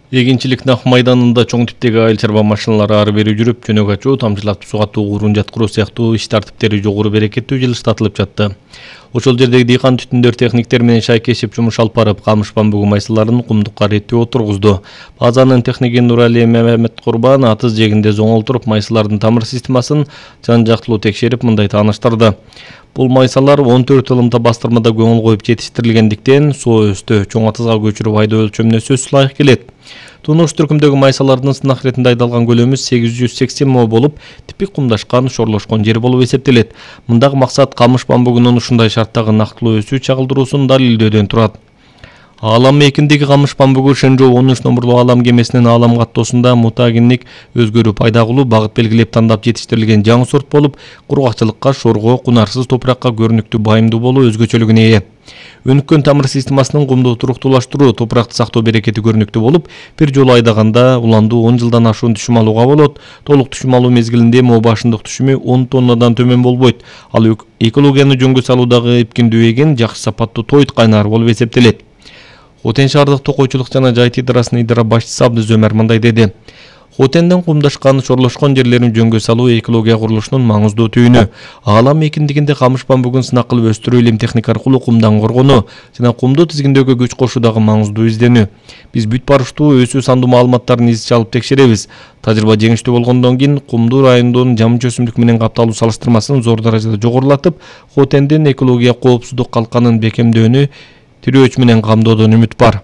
Эгинчилик нак майданында чоң типтеги айыл чарба машиналары ары бери жүрүп, жөнөк ачуу, тамчылатып сугатуу, урун жаткыруу сыяктуу иш тартиптери жогору берекеттүү жылыштатылып жатты. Ошол жердеги дыйкан түтүндөр техниктер менен шайкешип жумуш алып барып, камыш бамбугу майсаларын кумдукка реттеп отургузду. Базанын техниги Нурали Меметкурбан атыз жегинде зоңол туруп, майсалардын тамыр системасын жан жактылуу текшерип, мындай тааныштырды. Бул майсалар 14 ылымда бастырмада көңүл коюп жетиштирилгендиктен, соо өстө чоң атызга көчүрүп айдоо өлчөмүнө сөзсүз ылайык келет. Тунуш түркүмдөгү майсалардын сынак иретинде айдалган көлөмү 880 мо болуп, типик кумдашкан, шорлошкон жер болуп эсептелет. Мындагы максат камыш бамбугунун ушундай шарттагы нактылуу өсүү чагылдыруусун далилдөөдөн турат. Аалам мейкиндеги камыш бамбугу Шенжоу 13 номурлуу аалам кемесинин аалам каттоосунда мутагинник өзгөрүү пайда кылуу, багыт белгилеп тандап жетиштирилген жаңы сорт болуп, кургакчылыкка, шорго, кунарсыз топуракка көрүнүктүү байымдуу болуу өзгөчөлүгүнө ээ. Өнүккөн тамыр системасынын кумду туруктуулаштыруу, топуракты сактоо берекети көрүнүктүү болуп, бир жолу айдаганда уландуу 10 жылдан ашуун түшүм алууга болот. Толук түшүм алуу мезгилинде мо башындык түшүмү 10 тоннадан төмөн болбойт. Ал экологияны жөнгө салуудагы эпкиндүү эгин, жакшы сапаттуу тойт кайнар болуп эсептелет. Хотен шаардык токойчулук жана жайыт идарасынын идара башчысы Абдыз Өмөр мындай деди. Хотенден кумдашкан, шорлошкон жерлерин жөнгө салуу экология курулушунун маңыздуу түйүнү. Аалам мейкиндигинде камыш бамбугун сынак кылып өстүрүү илим техника аркылуу кумдан коргонуу жана кумду тизгиндөөгө күч кошуу дагы маңыздуу изденүү. Биз бүт барыштуу өсүү сандуу маалыматтарын изче алып текшеребиз. Тажрыйба жеңиштүү болгондон кийин кумду райондун жамынча өсүмдүк менен капталуу салыштырмасын зор даражада жогорулатып, Хотендин экология коопсуздук калканын бекемдөөнү тирөөч менен камдоодон үмүт бар.